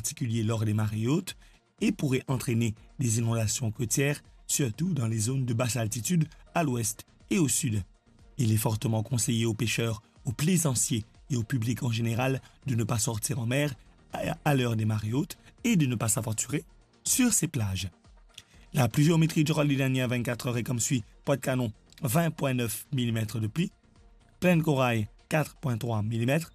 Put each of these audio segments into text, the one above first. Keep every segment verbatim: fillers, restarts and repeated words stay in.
particulier lors des marées hautes, et pourrait entraîner des inondations côtières, surtout dans les zones de basse altitude à l'ouest et au sud. Il est fortement conseillé aux pêcheurs, aux plaisanciers et au public en général de ne pas sortir en mer à, à l'heure des marées hautes et de ne pas s'aventurer sur ces plages. La pluviométrie durant les dernières vingt-quatre heures est comme suit : Pointe-Canon, vingt point neuf millimètres de pluie, Plaine Corail, quatre point trois millimètres,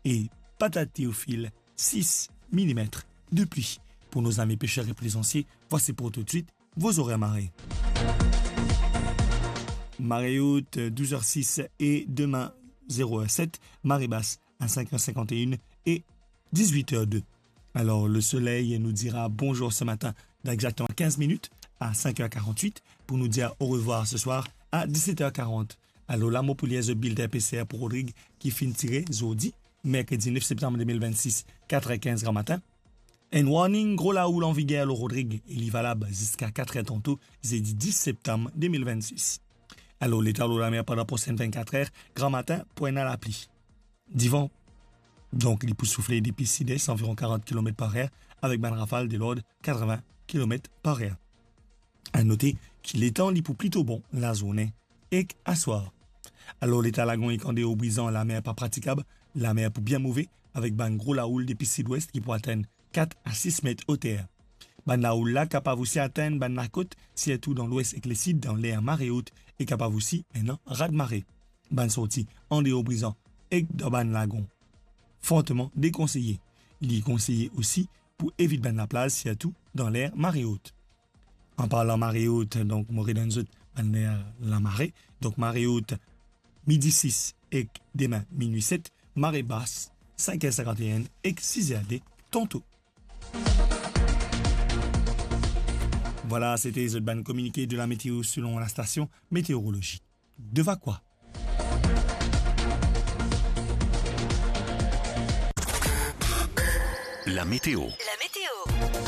et Patate Théophile, six millimètres de pluie. Pour nos amis pêcheurs et plaisanciers, voici pour tout de suite vos horaires marée. Marée haute, douze heures six et demain, zéro heure sept. Marée basse à cinq heures cinquante et une et dix-huit heures deux. Alors, le soleil nous dira bonjour ce matin dans exactement quinze minutes, à cinq heures quarante-huit, pour nous dire au revoir ce soir à dix-sept heures quarante. Alor la, mo pou lir zot bilten P C R pou Rodrig ki finn tire zordi, merkredi nef septanm de mil vennsis, kat er kinz gramatin. Enn warning gro laoul anviger lor Rodrig e li valab ziska kat er tanto, zedi dis septanm de mil vennsis. Alor, leta lor lamer pandan prosenn vennkat er, gramatin pou ena lapli. Divan, donk, li pou soufle depi sid-es, anviron karant kilomet par er, avek bann rafal de lord katrevin kilomet par er. A note ki letan li pou plito bon lazourne ek aswar. Alor, leta lagon ek Andeor Brizan, lamer pa pratikab, lamer pou bien move, avek bann gro laoul depi sidwes ki pou atenn kat a sis met oter. Bann laoul la kapav osi atenn bann lakot, sirtou dan lwes ek lesid, dan ler mare ot, e kapav osi ena raz-mare. Bann sorti Andeor Brizan ek dan bann lagon forteman dekonseye. Li konseye osi pou evit bann laplaz, sirtou dan ler mare ot. An parlan mare ot, donk, mo redonn zot bann ler lamare. Donk, mare ot, midi sis ek demin, minwi set, mare bas, sink er sinkant-e-enn ek sis er de tanto. Vwala, sete zot bann kominike de la meteo selon la station météorologie de Vacoas. La météo. La météo.